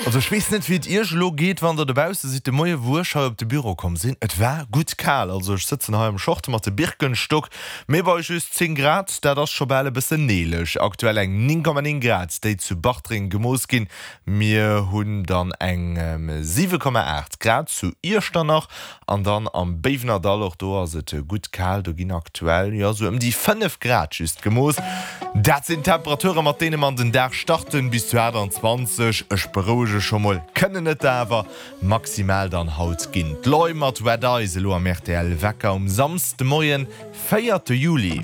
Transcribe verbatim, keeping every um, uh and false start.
Also ech weess net wéi et iech elo geet wann der dobausse sidd. De Moie wou ech hei op de Büro komm sinn, et war gutt kal. Also ech sëtzen hei am Short mat de Birkenstock, mee bei just zéng Grad, dat ass scho bal e bëssen neeleg. Aktuell eng néng Komma néng Grad déi zu Bartreng gemooss ginn. Mir hunn dann eng siwe Komma aacht Grad zu Iechternach an dann am Béiwenerdall, och do ass et gutt kal, do ginn aktuell jo sou ëm déi fënnef Grad just gemooss. Dat sinn d'Temperature mat deene mer an den Dag starten, bis zu aachtanzwanzeg, ech berouege scho mol, kënnen et der awer maximal dann haut ginn. D'Loi mat Wet Eyes elo am R T L Wecker um Samsdemoien, véierte Juli.